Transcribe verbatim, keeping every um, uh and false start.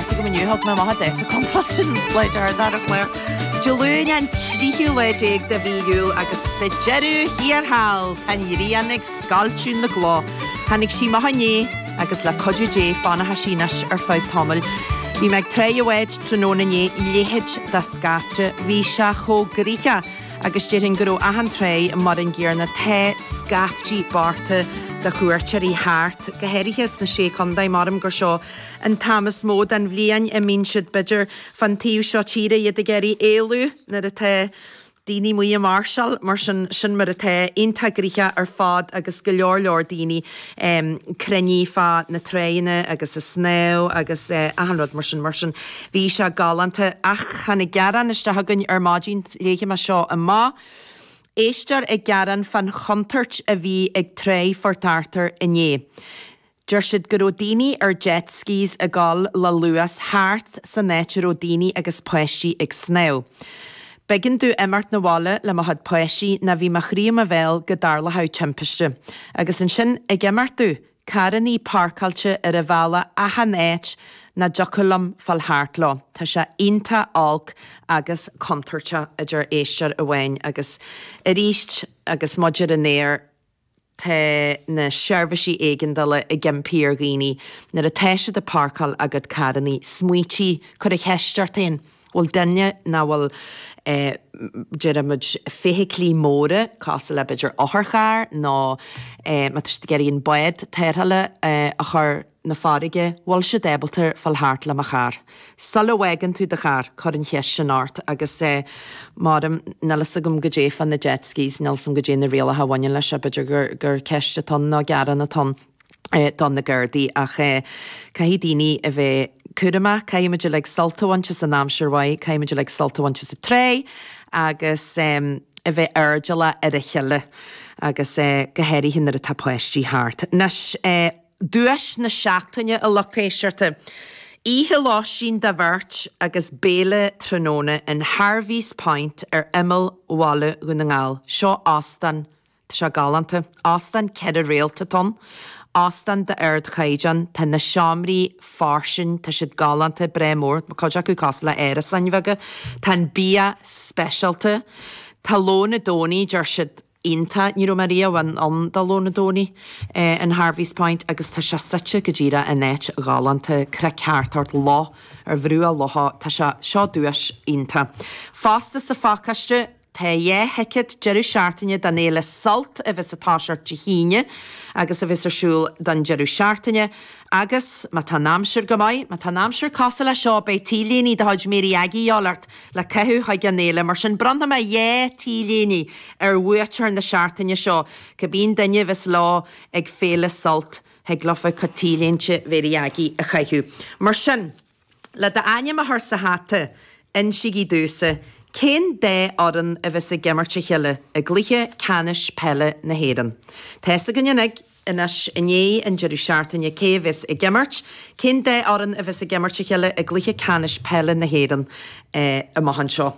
ceart agam inniu thug mé amach an dáta contráilte sin le dear ar chlár. Dé Luain an tríú lá déag de mhí Iúil agus sa deireadh thiar thall tá an ghrian ag scoilteadh na gcloch. Tháinig sí amach inné agus le cuidiú Dé fanfaidh sí anois ar feadh tamaill. Bhí mé ag Tráigh a' Bháid tráthnóna inné leithéid de scaifte, bhí sé chomh gnoitheach agus déarfainn go raibh achan tráigh mar an gcéanna tá scaiftí bochta de chuairteoirí thart, go háirithe sna sé chontae maram gur seo an t-am is mó den bhliain a mbíonn siad b'fhéidir fan taobh seo tíre iad ag iarraidh éalú nuair atá daoine amuigh ag máirseáil mar sin sin mar atá iontach gnoitheach ar fad agus go leor leor daoine um, cruinnithe fá na tráigheanna agus ag snámh agus uh, achan rud mar sin mar sin bhí sé galánta ach tháinig gearán isteach againn ar maidin léifidh mé seo amach. Éisteoir ag gearán fan chontúirt a bhí ag Tráigh Phort Arthur inné. Deir siad go raibh daoine ar jet skis ag dul le luas thart san áit a raibh daoine agus páistí ag snámh. B'éigean domh imeacht na bhaile le mo chuid páistí ná bhí mo chroí i mo bhéal go dtarlódh timpiste. Agus ansin ag imeacht domh, carrannaí páirceáilte ar an bhealach achan áit nach dtiocfadh liom fáil thart leo. Tá sé iontach olc agus contúirteach a deir éisteoir amháin agus arís agus muid ar an aer tá na seirbhísí éigeandála ag impí ar dhaoine nuair atá siad ag páirceáil a gcuid carrannaí smaointigh cuir an cheist ort féin. bhfuil duine ná bhfuil eh, déarfaimid feithiclí móra cosúil le b'fhéidir otharcharr nó eh, má tá siad ag iarraidh an bád tarrthála eh, a chur na farraige, bhfuil siad ábalta fáil thart le mo charr. Sula bhfágann tú do charr cuir an cheist sin ort agus eh, maram níl a fhios agam goidé fá na jet skis, níl a fhios agam goidé na rialacha a bhaineann leis b'fhéidir gur, gur ceist atá ann nó gearán atá ann eh, don na Gardaí ach eh, caithfidh daoine a bheith cúramach, caithfimid uilig sult a bhaint as an aimsir mhaith, caithfimid uilig sult a bhaint as an trá agus um, a bheith airdeallach ar a chéile agus eh, go háirithe nuair atá páistí thart. Anois eh, duais na seachtaine a lucht éisteachta. Oíche lóistín do bheirt agus béile tráthnóna in Harvey's Point ar imeall Bhaile Dhún na nGall. Seo óstán Tá sé galánta. Óstán ceithre réalta atá ann. Óstán d'ardchaighdeán tá na seomraí fairsing tá siad galánta breá mór, cuid acu cosúil le árasáin bheaga, Tá an bia speisialta, Tá lón na Domhnaí deir siad iontach ní raibh mé riamh ann ann do lón na Domhnaí eh, in Harvey's Point agus tá sé suite go díreach in áit ghalánta cnoic thart ort loch ar bhruach locha tá sé seo duais iontach. Fosta sa phacáiste Tá dhá thicéad deireadh seachtaine don fhéile Sult a bheas ag toiseacht Dé hAoine agus a bheas ar siúl don deireadh seachtaine, agus má tá an aimsir go maith, má tá an aimsir cosúil le seo beidh T-léine de chuid Mary Aggie de dhíobháil ort le caitheamh chuig an fhéile, mar sin bronnfaidh mé dhá T-léine ar bhuaiteoir na seachtaine seo, cibé duine a bheas leo ag féile Sult thig leofa cuid T-léinte Mary Aggie a chaitheamh. Mar sin, le d'ainm a chur sa hata, insígí domhsa, Cén dá fhoireann a bheas ag imirt a chéile i gcluiche ceannais peile na hÉireann? Tá a fhios againn anois i ndiaidh an deireadh seachtaine cé a bheas ag imirt, cén dá fhoireann a bheas ag imirt a chéile i gcluiche ceannais peile na hÉireann eh, amach anseo.